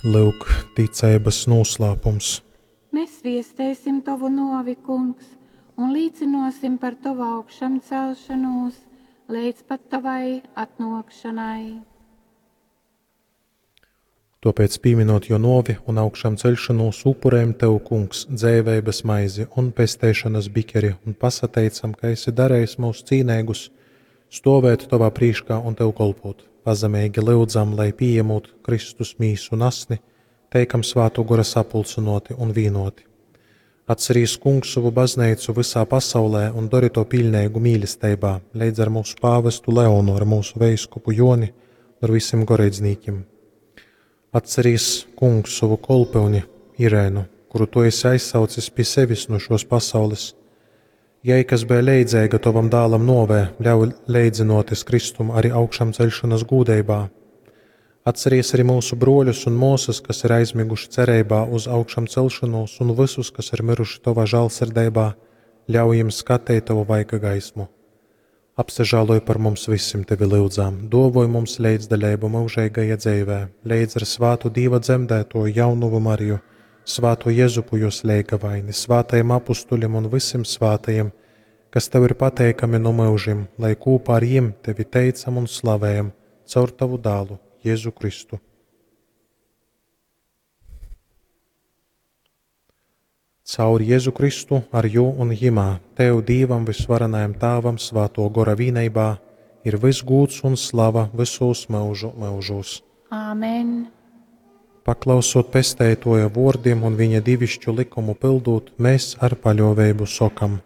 Lyuk, ticeibas nūslāpums. Mēs viestēsim tovu nuovi, Kungs, un līcynuosim par tovu augšamcelšanūs leidz pat tovai atnuokšanai. Tuopēc, pīminot juo nuovi un augšamceļšonūs, upurējam Tev, Kungs, dzeiveibas maizi un pesteišonas bikeri un pasateicam, ka esi darejis mūs cīneigus stuovēt Tovā prīškā un Tev kolpot. Pazemeigi lyudzam, lai pījemūt Kristus mīsu un asni, teikam Svātuo Gora sapulcynuoti un vīnuoti. Atcerīs, Kungs, sovu bazneicu vysā pasaulē un dori to piļneigu mīlesteibā, leidz ar mūsu pāvestu Leonu, ar mūsu veiskupu Joni un ar visiem goreidznīkim. Atcerīs, Kungs, sovu kolpyuni Irēnu, kuru tu esi aizsaucis pi sevis nu šos pasaules. Jai, kas bija leidzeiga tovam dālam novē, ļauj leidzinoties Kristum arī augšamceļšanas gūdeibā. Atceries arī mūsu bruoļus un muosas, kas ir aizmiguši cereibā uz augšamcelšanos, un visus, kas ir miruši tovā žālsirdeibā, ļauj jiem skateit tovu vaiga gaismu. Apsažāloj par mums visim tevi lyudzām, dovoj mums leidzdaļību mūžīgajā dzeivē, leidz ar svātu Dīva dzemdēto jaunuvu Mariju, svāto Jezupu jos leigavaini, svātajiem apustuļiem un visiem svātajiem, kas tev ir pateikami no mūžiem, lai kopā ar jiem tevi teicam un slavējam caur tavu dālu, Jēzu Kristu. Caur Jēzu Kristu, ar jū un jimā, Tev, Dīvam visvarenajam Tāvam, Svāto Gora vīneibā, ir viss gūds un slava visos mūžu mūžos. Āmen! Paklausot pesteitoja vōrdim un viņa divišķu likumu pildūt, mēs ar paļōveibu sokam: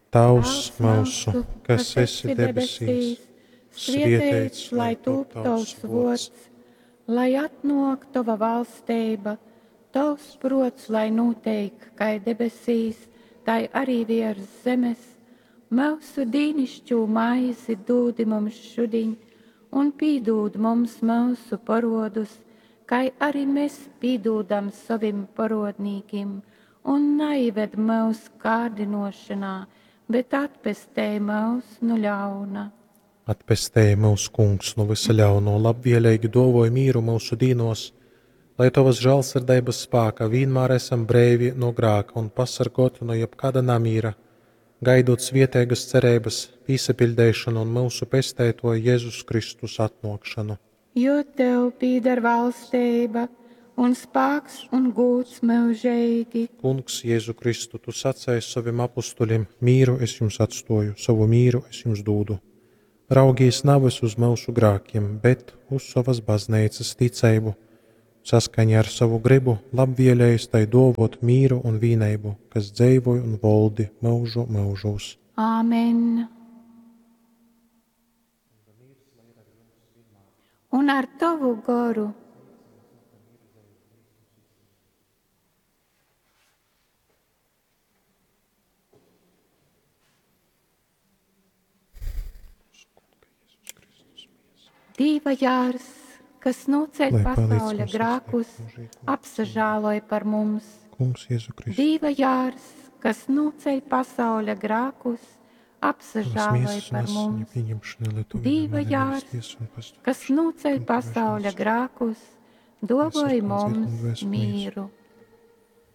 Tavs myusu, kas esi debesīs, svieteits lai tūp tovs vuords, lai atnok tova valsteiba, tovs prots, lai nūteik kai debesīs, tai arī viers zemes. Myusu dīnišķū maizi dūdi mums šudiņ, un pīdūd mums myusu porodus, kai arī mēs pīdūdam sovim porodnīkim, un naived mūs kārdinošanā, bet atpestej mūs nu ļauna. Atpestēji mūs, Kungs, no visa ļauno, labvēlīgi dovoj mīru mūsu dīnos, lai Tavas žēlsirdības spāka vienmēr esam breivi no grāka un pasargoti no jebkāda namīra, gaidot svietēgas cerības, pīsapildēšanu un mūsu pestētoja Jēzus Kristus atnokšanu. Jo tev pīdar valsteiba un spāks un gūds mūžīgi. Kungs, Jēzu Kristu, tu sacēji saviem apustuļiem, mīru es jums atstoju, savu mīru es jums dūdu. Raugīs nevis uz mūsu grākiem, bet uz savas baznīcas ticību. Saskaņā ar savu gribu labvēlējis tai dovot mīru un vīneibu, kas dzeivoj un voldi mūžu mūžos. Āmen! Un ar tavu goru. Dīva jārs, kas noceļ Lai palīdz pasauļa mums grākus, sasniegt mūžīgo apsažāloj par mums. Kungs, Jēzu Kristu, Dīva jārs, kas noceļ pasauļa grākus, tavas apsažāloj miesas un par asiņu mums. pieņemšana, lai tu Dīva vienmēr nevis jārs, tiesu un pastāv. kas noceļ pasauļa grākus, dovoj Mēs ar mums dvēseli mīru.